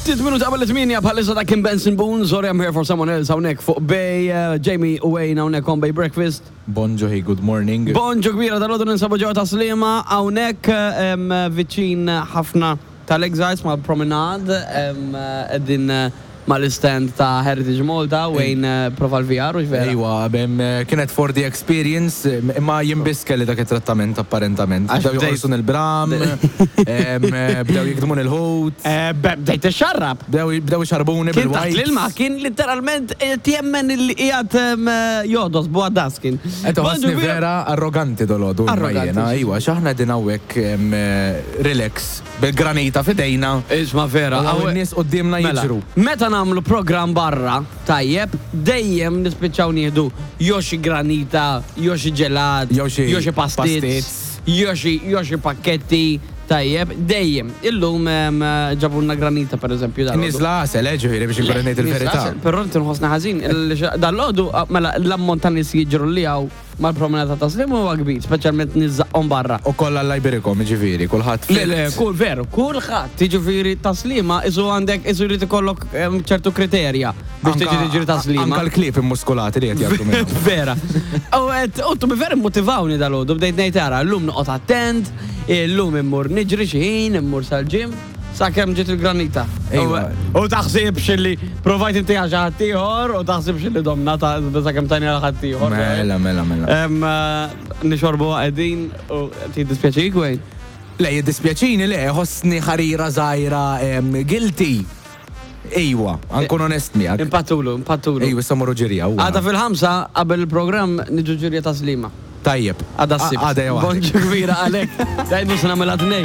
Ftit minuti qabel it-tmienja bħalissa ta' Kim Benson Boone, sorry I'm here for someone else hawnhekk fuq Bay, eh, Jamie u Wayne hawnhekk on Bay Breakfast. Bonġu, hey, good morning. Bonġu kbira dal-għodu ninsabu ġewwa ta' Sliema hawnhekk em, viċin ħafna tal-Exiles mal-Promenade em, qegħdin eh, mal-istand ta' Heritage Malta, Wayne prova l-VR, hux vera? Ejwa, kienet for the experience, imma jien biss kelli dak it-trattament apparentament. Bdew joqorsun il-bram, bdew jikdmuni l-ħut. Bdejt tixxarrab. Bdew ixarrbuni bil-wipes. Kien taħt l-ilma, kien litteralment qed jemmen li qiegħed jogħdos b'għaddas kien. Qed iħossni vera arroganti dolodu. Arroganti. Ejwa, għax aħna qegħdin hawnhekk relax. Bil-granita f'idejna. Isma' vera. U hawn in-nies quddiemna Mela, jiġru. meta nagħmlu programm barra, tajjeb, dejjem nispiċċaw nieħdu jew xi granita, jew xi ġelat, Jew xi jew xi pastizz, pastizz. jew xi jew xi pakketti, tajjeb, dejjem. Illum em, ġabulna granita pereżempju dalgħodu. Niżla għasel, eh, ġifieri biex inkun qed ngħid il-verità. Però inti nħossni ħażin, il- dalgħodu mela l-ammont ta' nies jiġru li hawn Mal-promenata ta' Sliema huwa kbir, speċjalment nies żaqqhom barra. U kollha Alla jberikhom, jiġifieri, kulħadd Le, le, kull veru, kulħadd, jiġifieri ta' Sliema isu għandek isu jrid ikollok ċertu kriterja biex tiġi tiġri ta' Sliema. Anka l-klieb immuskulati li qed jgħaddu minn. Vera. U qed u to be fair immotivawni dalgħodu bdejt ngħid ara llum noqgħod attent, illum immur niġri xi ħin, immur sal-gym. Sakemm ġiet il-granita. Ejwa. U taħsibx li provajt inti għax ħaddieħor u taħsibx li domna ta' sakemm tajni għal ħaddieħor. Mela, mela, mela. Em, eh, Nixorbu qegħdin u jiddispjaċik Wayne. Le, jiddispjaċini, le, ħossni ħarira żgħira em, guilty. Ejwa, ankun onest miegħek. Impattulu, impattulu. Ejwa, issa morru ġirja. huwa. Għada fil-ħamsa qabel il-programm niġu ġirja ta' Slima. Tajjeb. Għada s-sibt. Għada jew Bonġu kbira għalek. Dajdu s-namela tnej.